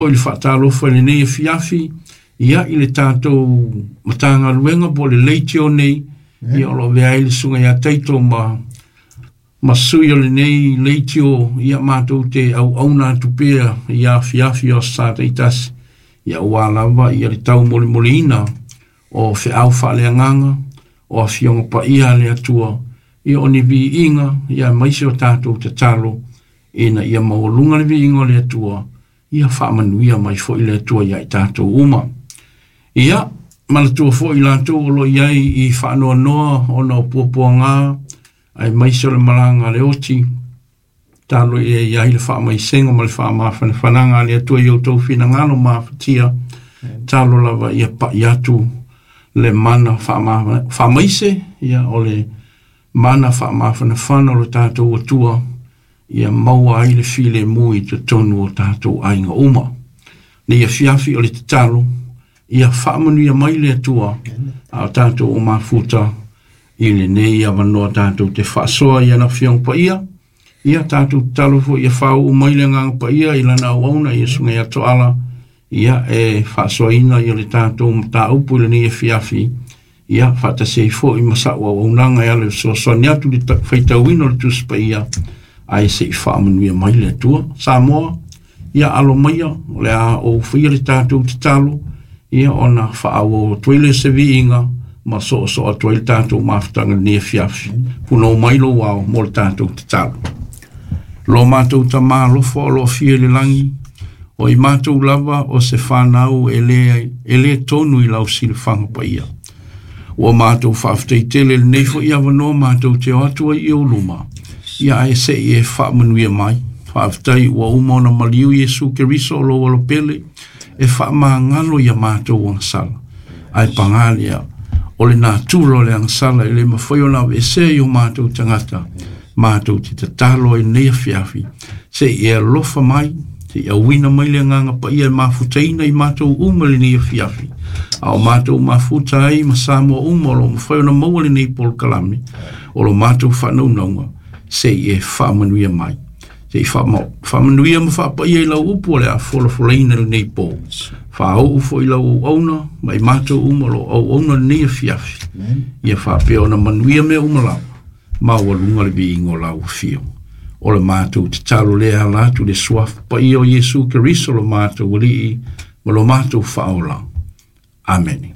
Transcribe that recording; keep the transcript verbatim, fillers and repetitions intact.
Foi le faatalofa i lenei afiafi, ia i le tatou Matagaluega po o le leitio nei, ia o lo o avea ai le susuga ia Taito ma ma sui o lenei leitio, ia matou te auauna atu pea i afiafi o aso Sa taitasi, ia aua lava ia le taumolimoliina o feau faaleagaga, o afioga paia a le Atua, ia o ni viiga, ia aemaise o tatou tatalo, ina ia maualuga le viiga o le Atua, ia faamanuia mai foi le Atua ia i tatou uma. Ia, manatua foi i latou o lo o i ai i faanoanoa ona o puapuaga, aemaise o le malaga a le oti, talo ia i ai le faamaisega ma le faamafanafanaga a le Atua i outou finagalo mafatia, talo lava ia pai atu le mana faama- faamaise, ia o le mana faamafanafana o lo tatou Atua, ia maua ai le filemu i totonu o tatou aiga uma. Nei afiafi o le tatalo, ia faamanuia mai le Atua, a o tatou o mafuta i lenei avanoa tatou te faasoa i ana Afioga Paia, ia tatou tatalo foi ia faauu mai le Agaga Paia i lana auauna ia Susuga ia Toala, ia e faasoaina ia le tatou mataupu i lenei afiafi, ia faatasi ai foi ma sa'u auaunaga e ala i le fesoasoani atu i le faitauina o le Tusi Paia, ae se i faamanuia mai le Atua. Samoa, ia alo maia, o le a ou faia le tatou tatalo, ia ona faaauau atu ai lea o se viiga ma soosoo atu ai le tatou mafutaga i lenei afiafi. Punou mai lou ao mo le tatou tatalo. Lo matou Tamā alofa o lo o afio i le lagi, o i matou lava o se fanau e le, e le tonu i lau silafaga paia. Ua matou faafetai tele i lenei foi avanoa matou te o atu ai i ou luma, ia ae se i e faamanuia mai. Faafetai ua uma ona maliu Iesu Keriso o lou alopele e faamagalo ia matou agasala. Ae paga lea, o le natura o le agasala e le mafai ona aveesea i o matou tagata, matou te tatalo ai lenei afiafi, se i e alofa mai, se i auina mai le Agaga Paia e mafutaina i matou uma lenei afiafi, a o matou mafuta ai ma Samoa uma o lo o mafai ona maua lenei polokalame, o lo matou faanaunauga, se i e faamanuia mai. Se i faamanuia ma faapaia i lau upu o le a folafolaina lenei po. Faauu foi lau auauna ma i matou uma o lo o auauna lenei afiafi. Ia faapea ona manuia mea uma lava, maualuga le viiga o lau afio. O le matou tatalo lea ala atu i le suafa paia o Iesu Keriso lo matou Alii ma lo matou Faaola. Amene.